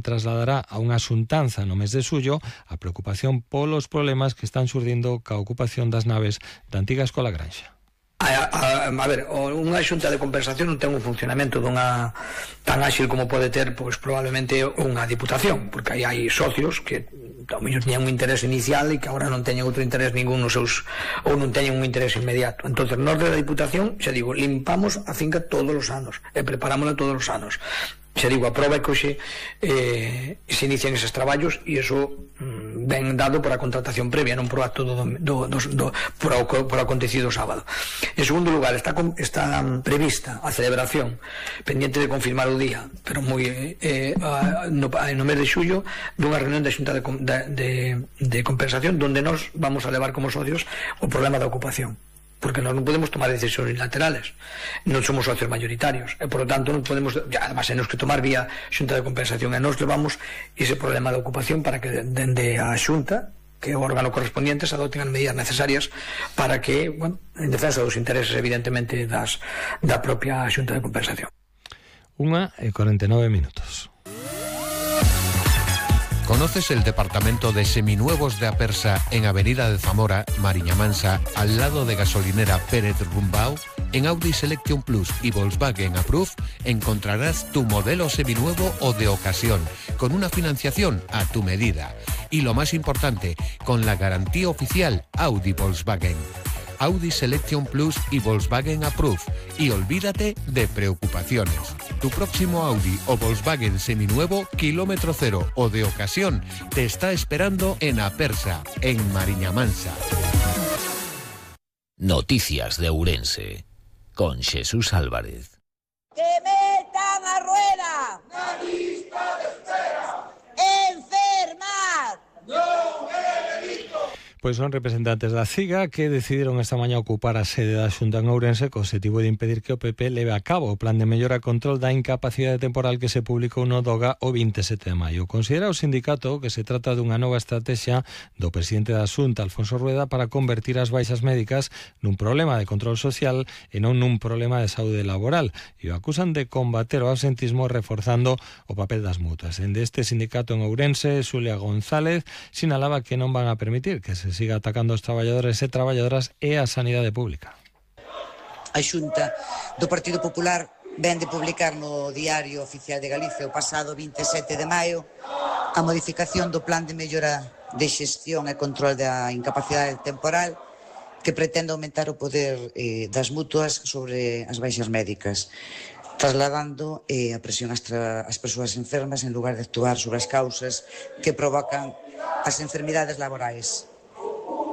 trasladará a unha xuntanza no mes de xullo a preocupación polos problemas que están xurdindo ca ocupación das naves da antiga Escola Granxa. A ver, unha xunta de compensación non ten un funcionamento tan áxil como pode ter, pois probablemente unha diputación, porque aí hai socios que ao mellor tiñan un interés inicial e que agora non teñen outro interés ningún nos seus, ou non teñen un interés inmediato. Entonces, nós da diputación, xa digo, limpamos a finca todos os anos e preparámola todos os anos. Xa digo, a prova é que hoxe se inician eses traballos e iso ben dado por a contratación previa, non por o acto por o acontecido sábado. En segundo lugar, está prevista a celebración, pendiente de confirmar o día, pero no mes de xullo, dunha reunión da Xunta de Compensación donde nos vamos a levar como socios o problema da ocupación, porque nós non podemos tomar decisións unilaterales, non somos socios mayoritarios e por lo tanto non podemos, además temos que tomar vía Xunta de Compensación e nós levamos ese problema de ocupación para que dende a Xunta, que é o órgano correspondiente, se adopten as medidas necesarias para que, bueno, en defensa dos intereses evidentemente da propia Xunta de Compensación. 1:49. ¿Conoces el departamento de seminuevos de Apersa en Avenida de Zamora, Mariña Mansa, al lado de gasolinera Pérez Rumbao? En Audi Selection Plus y Volkswagen Approve encontrarás tu modelo seminuevo o de ocasión, con una financiación a tu medida. Y lo más importante, con la garantía oficial Audi Volkswagen. Audi Selection Plus y Volkswagen Approve. Y olvídate de preocupaciones. Tu próximo Audi o Volkswagen seminuevo, kilómetro cero o de ocasión, te está esperando en Apersa, en Mariña Mansa. Noticias de Ourense, con Jesús Álvarez. ¡Que metan a rueda! ¡Na lista de espera! ¡Enfermar! ¡Non é delito! Pois son representantes da CIGA que decidiron esta mañá ocupar a sede da Xunta en Ourense co objetivo de impedir que o PP leve a cabo o plan de mellora e control da incapacidade temporal que se publicou no DOGA o 27 de maio. Considera o sindicato que se trata dunha nova estrategia do presidente da Xunta, Alfonso Rueda, para convertir as baixas médicas nun problema de control social e non nun problema de saúde laboral, e o acusan de combater o absentismo reforzando o papel das mutuas. Dende este sindicato en Ourense, Xulia González sinalaba que non van a permitir que se siga atacando os traballadores e traballadoras e a sanidade pública. A Xunta do Partido Popular ven de publicar no Diario Oficial de Galicia o pasado 27 de maio a modificación do plan de mellora de xestión e control da incapacidade temporal que pretende aumentar o poder das mutuas sobre as baixas médicas, trasladando a presión ás persoas enfermas en lugar de actuar sobre as causas que provocan as enfermidades laborais.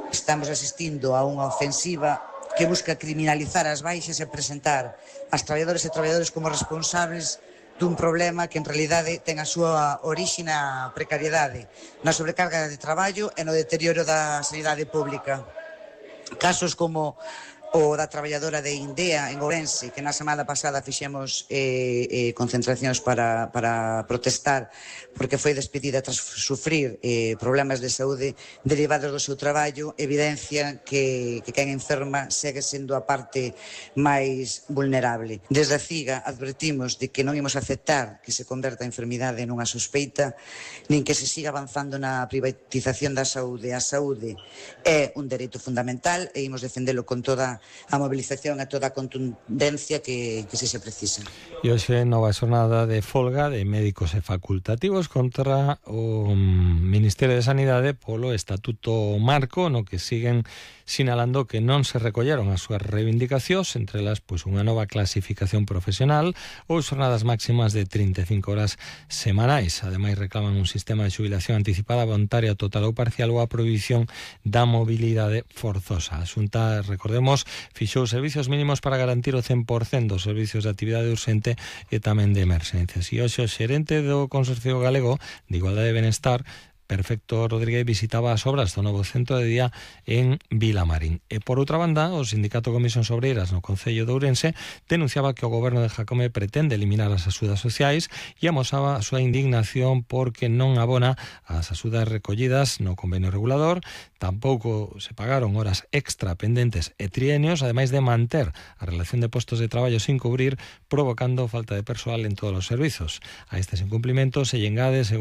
Estamos asistindo a unha ofensiva que busca criminalizar as baixas e presentar as traballadores e traballadores como responsables dun problema que en realidade ten a súa orixe na precariedade, na sobrecarga de traballo e no deterioro da sanidade pública. Casos como o da traballadora de Indea en Ourense, que na semana pasada fixemos concentracións para protestar porque foi despedida tras sufrir problemas de saúde derivados do seu traballo, evidencia que quen enferma segue sendo a parte máis vulnerable. Desde a CIGA advertimos de que non imos aceptar que se converta a enfermidade nunha sospeita, nin que se siga avanzando na privatización da saúde. A saúde é un dereito fundamental e imos defendelo con toda a movilización e toda a contundencia que se precisa. E hoxe nova xornada de folga de médicos e facultativos contra o Ministerio de Sanidade polo Estatuto Marco, no que siguen sinalando que non se recolleron as súas reivindicacións, entre elas pois unha nova clasificación profesional ou xornadas máximas de 35 horas semanais. Ademais reclaman un sistema de xubilación anticipada voluntaria total ou parcial ou a prohibición da mobilidade forzosa. A Xunta, recordemos, fixou servicios mínimos para garantir o 100% dos servicios de actividade urxente e tamén de emerxencias. E hoxe o xerente do Consorcio Galego de Igualdade e Benestar, Perfecto Rodríguez, visitaba as obras do novo centro de día en Vilamarín. E por outra banda, o Sindicato Comisións Obreiras no Concello de Ourense denunciaba que o goberno de Jacome pretende eliminar as axudas sociais e amosaba a súa indignación porque non abona as axudas recollidas no convenio regulador, tampouco se pagaron horas extra pendentes e trienios, ademais de manter a relación de postos de traballo sin cubrir, provocando falta de persoal en todos os servizos. A estes incumplimentos se engade, según